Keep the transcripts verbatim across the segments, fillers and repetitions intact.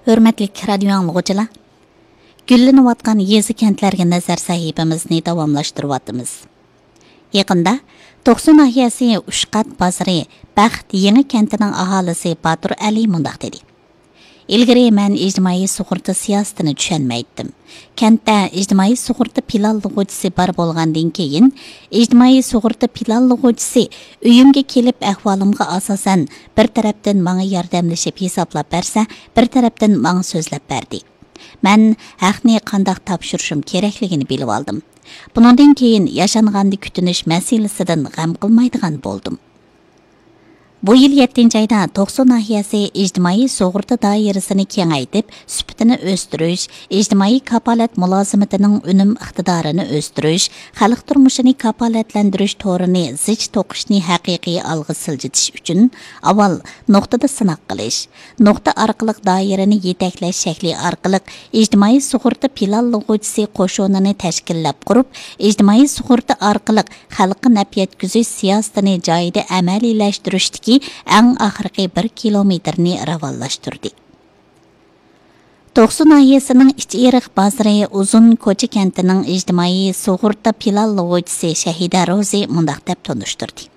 ھۆرمەتلىك رادىيو ئاڭلىغۇچىلار، گۈللىنىۋاتقان يېزا-كەنتلەرگە نەزەر سەھىپىمىزنى داۋاملاشتۇرۇۋاتىمىز. يېقىندا توقسۇ ناھىيەسى ئۈچقات بازىرى بەخت يېڭى كەنتىنىڭ ئاھالىسى باتۇر ئەلى مۇنداق دېدى: «ئىلگىرى مەن ئىجتىمائىي سۇغۇرتا سىياسىتىنى چۈشەنمەيتتىم. كەنتتە ئىجتىمائىي سۇغۇرتا پىلانلىغۇچىسى بار بولغاندىن كېيىن، ئىجتىمائىي سۇغۇرتا پىلانلىغۇچىسى ئۆيۈمگە كېلىپ، ئەھۋالىمغا ئاساسەن، بىر تەرەپتىن ماڭا ياردەملىشىپ ھېسابلاپ بەرسە، بىر تەرەپتىن ماڭا سۆزلەپ بەردى. مەن ھەقنى قانداق تاپشۇرۇشۇم كېرەكلىكىنى بىلىۋالدىم. بۇنىڭدىن كېيىن ياشانغاندا كۈتۈنۈش مەسىلىسىدىن غەم قىلمايدىغان بولدۇم.» بۇ يىل يەتتىنچى ئايدا توقسۇ ناھىيەسى ئىجتىمائىي سۇغۇرتا دائىرىسىنى كېڭەيتىپ، سۈپىتىنى ئۆستۈرۈش، ئىجتىمائىي كاپالەت مۇلازىمىتىنىڭ ئۈنۈم ئىقتىدارىنى ئۆستۈرۈش، خەلق تۇرمۇشىنى كاپالەتلەندۈرۈش تورىنى زىچ توقۇشنى ھەقىقىي ئالغا سىلجىتىش ئۈچۈن ئاۋۋال نۇقتىدا سىناق قىلىش، نۇقتا ئارقىلىق دائىرىنى يېتەكلەش شەكلى ئارقىلىق ئىجتىمائىي سۇغۇرتا پىلانلىغۇچىسى قوشۇنىنى تەشكىللەپ قۇرۇپ، ئىجتىمائىي سۇغۇرتا ئارقىلىق خەلققە نەپ يەتكۈزۈش سىياسىتىنى جايىدا ئەمەلىيلەشتۈرۈشتىكى ئەڭ ئاخىرقى بىر كىلومېتىرنى راۋانلاشتۇردى. توقسۇ ناھىيەسىنىڭ ئىچ ئېرىق بازىرى ئۇزۇن كوچا كەنتىنىڭ ئىجتىمائىي سۇغۇرتا پىلانلىغۇچىسى شەھىدە روزى مۇنداق دەپ تونۇشتۇردى: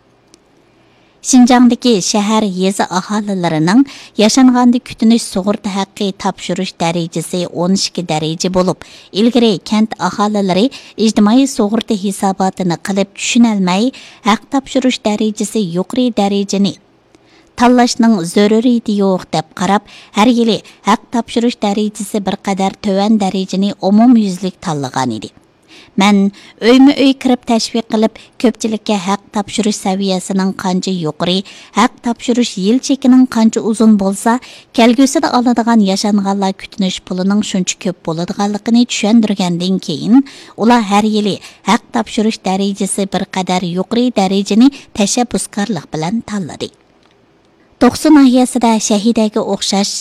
«شىنجاڭدىكى شەھەر، يېزا ئاھالىلىرىنىڭ ياشانغاندا كۈتۈنۈش سۇغۇرتا ھەققى تاپشۇرۇش دەرىجىسى ئون ئىككى دەرىجە بولۇپ، ئىلگىرى كەنت ئاھالىلىرى ئىجتىمائىي سۇغۇرتا ھېساباتىنى قىلىپ چۈشىنەلمەي، ھەق تاپشۇرۇش دەرىجىسى يۇقىرى دەرىجىنى تاللاشنىڭ زۆرۈرىيىتى يوق دەپ قاراپ، ھەر يىلى ھەق تاپشۇرۇش دەرىجىسى بىر قەدەر تۆۋەن دەرىجىنى ئومۇميۈزلۈك تاللىغانىدى. مەن ئۆيمۇ ئۆي كىرىپ تەشۋىق قىلىپ، كۆپچىلىككە ھەق تاپشۇرۇش سەۋىيەسىنىڭ قانچە يۇقىرى، ھەق تاپشۇرۇش يىل چېكىنىڭ قانچە ئۇزۇن بولسا، كەلگۈسىدە ئالىدىغان ياشانغانلار كۈتۈنۈش پۇلىنىڭ شۇنچە كۆپ بولىدىغانلىقىنى چۈشەندۈرگەندىن كېيىن، ئۇلار ھەر يىلى ھەق تاپشۇرۇش دەرىجىسى بىر قەدەر يۇقىرى دەرىجىنى تەشەببۇسكارلىق بىلەن تاللىدى.» توقسۇ ناھىيەسىدە شەھىدەگە ئوخشاش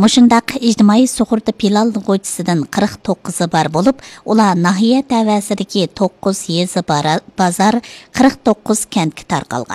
مۇشۇنداق ئىجتىمائىي سۇغۇرتا پىلانلىغۇچىسىدىن قىرىق توققۇزى بار بولۇپ، ئۇلار ناھىيە تەۋەسىدىكى توققۇز يېزا، بارا-، بازار، قىرىق توققۇز كەنتكە تارقالغان.